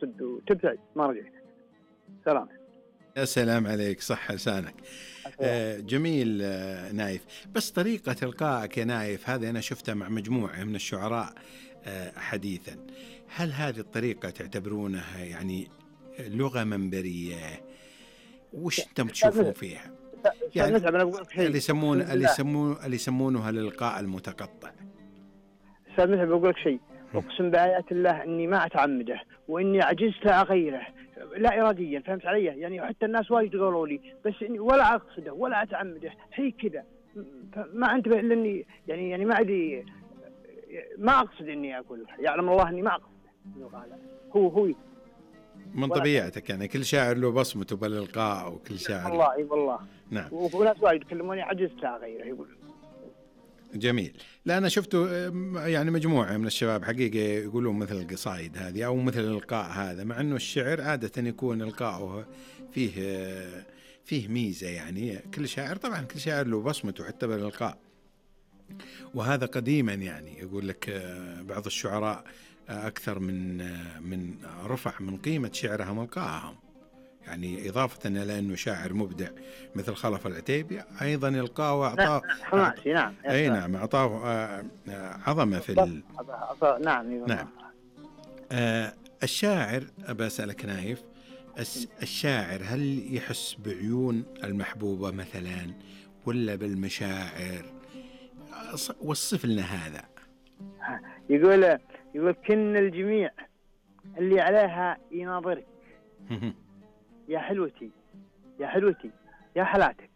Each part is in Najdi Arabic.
تقصد وتبتعد ما رجعت. سلام. يا سلام عليك، صح لسانك. جميل. نايف، بس طريقة إلقائك يا نايف هذه أنا شفتها مع مجموعة من الشعراء حديثا. هل هذه الطريقة تعتبرونها يعني لغة منبرية؟ وش أنتم تشوفون فيها؟ يعني اللي يسمونها الإلقاء المتقطع. أستاذ متعب بقول لك شيء، أقسم بآيات الله إني ما أتعمده، وإني عجزت أغيره لا إراديا، فهمت علي؟ يعني حتى الناس وايد قالوا لي، بس إني ولا أقصده ولا أتعمده، هي كذا ما أنتبه إلا إني يعني ما أدري، ما أقصد إني أقول، يعلم الله إني ما أقصده. هو من طبيعتك، يعني كل شاعر له بصمته بالإلقاء، وكل شاعر والله اي والله. نعم. وناس وايد يكلموني عجزت أغيره يقول. جميل. لا أنا شفته يعني مجموعة من الشباب حقيقة يقولون مثل القصائد هذه أو مثل الإلقاء هذا، مع أنه الشعر عادة يكون إلقاؤه فيه ميزة، يعني كل شاعر طبعا كل شاعر له بصمته حتى بالإلقاء، وهذا قديما يعني يقول لك بعض الشعراء أكثر من رفع من قيمة شعرهم إلقاءهم، يعني إضافة إلى أنه شاعر مبدع مثل خلف العتيبي أيضا إلقاء وأعطاه حماسي. نعم. أي نعم، أعطاه عظمة في نعم. الشاعر أبى أسألك نايف، الشاعر هل يحس بعيون المحبوبة مثلا ولا بالمشاعر؟ وصف لنا هذا. يقول كن الجميع اللي عليها يناظرك يا حلوتي يا حلوتي يا حلاتك،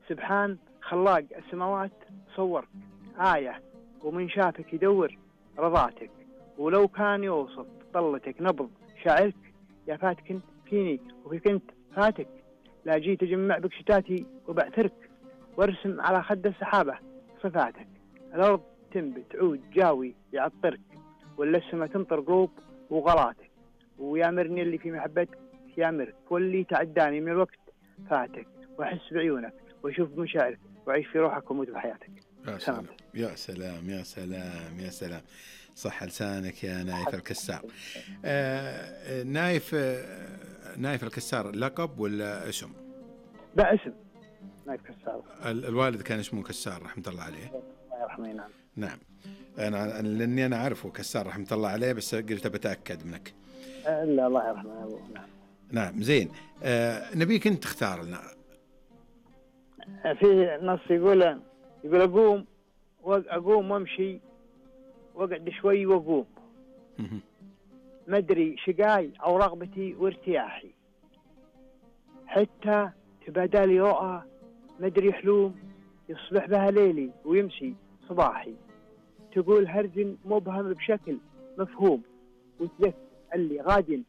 سبحان خلاق السماوات صورك آية، ومن شافك يدور رضاتك، ولو كان يوصف طلتك نبض شاعرك، يا فاتك فيني وفي كنت فاتك، لا جيت أجمع بك شتاتي وبعثرك، وارسم على خد السحابة صفاتك، الأرض تنبت عود جاوي يعطرك، ولا السما تمطر قلوب وغلاتك، ويامرني اللي في محبتك يامرك، واللي تعداني من الوقت فاتك، واحس بعيونك واشوف بمشاعرك، واعيش في روحك واموت بحياتك. يا سلام يا سلام يا سلام يا سلام، صح لسانك يا نايف الكسار. نايف الكسار لقب ولا اسم؟ لا اسم، نايف كسار. الوالد كان اسمه كسار رحمة الله عليه. الله يرحمه. نعم. نعم. أنا لأني أنا أعرفه كسار رحمة الله عليه، بس قلت بتأكد منك. لا الله يرحمه أبوه. نعم. نعم زين. نبيك أنت تختار لنا. في نص يقول أقوم وامشي واقعد شوي واقوم، مدري شقاي أو رغبتي وارتياحي، حتى تبادلي رؤى مدري حلوم، يصبح بها ليلي ويمشي صباحي، تقول هرج مبهم بشكل مفهوم، وتذكر اللي غاد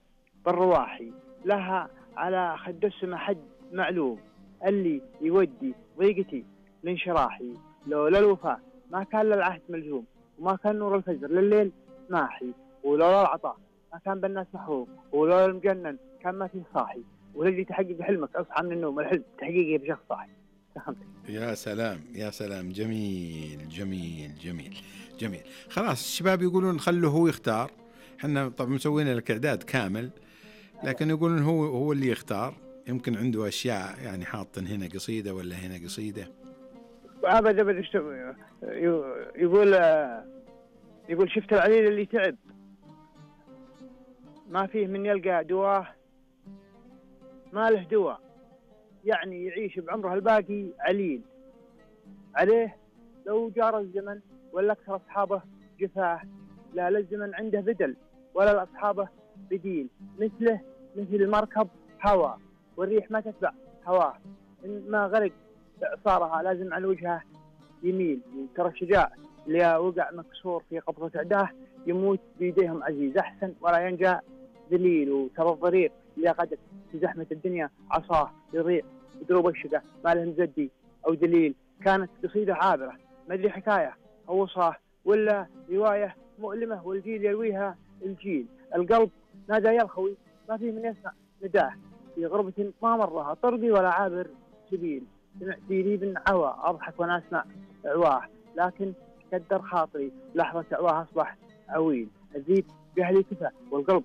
بالرواحي، لها على خد السما حد معلوم، اللي يودي ضيقتي لانشراحي، لولا الوفاء ما كان للعهد ملزوم، وما كان نور الفجر لليل ماحي، ولولا العطاء ما كان بالناس محروم، ولولا المجنن كان ما فيه صاحي، وللي تحقق حلمك اصحى من النوم، الحلم تحقيقه بشخص صاحي. يا سلام يا سلام، جميل جميل جميل جميل. خلاص الشباب يقولون خلوه هو يختار، حنا طبعا مسوين لك إعداد كامل، لكن يقولون هو اللي يختار، يمكن عنده أشياء يعني حاطن هنا قصيدة ولا هنا قصيدة. أبدا يقول شفت العليل اللي تعب ما فيه من يلقى دواه، ما له دواء، يعني يعيش بعمره الباقي عليل، عليه لو جار الزمن ولا أكثر أصحابه جفاه، لا الزمن عنده بدل ولا لأصحابه بديل، مثله مثل المركب هوا والريح ما تتبع هواه، إن ما غرق إعصارها لازم على وجهه يميل، ترى الشجاع اللي وقع مكسور في قبضة عداه يموت بيديهم عزيز أحسن ولا ينجى ذليل، وترى الضرير اللي قدت في زحمة الدنيا عصاه يضيع بدروب الشقة ما له مزدي أو دليل، كانت قصيدة عابرة ما أدري حكاية أو وصاه ولا رواية مؤلمة والجيل يرويها الجيل، القلب نادى يا الخوي ما فيه من يسمع نداه، في غربة ما مرها طرقي ولا عابر سبيل، سمعت ريب عوى أضحك وأنا أسمع عواه، لكن كدر خاطري لحظة عواه أصبح عويل، الذيب بأهلي كفى والقلب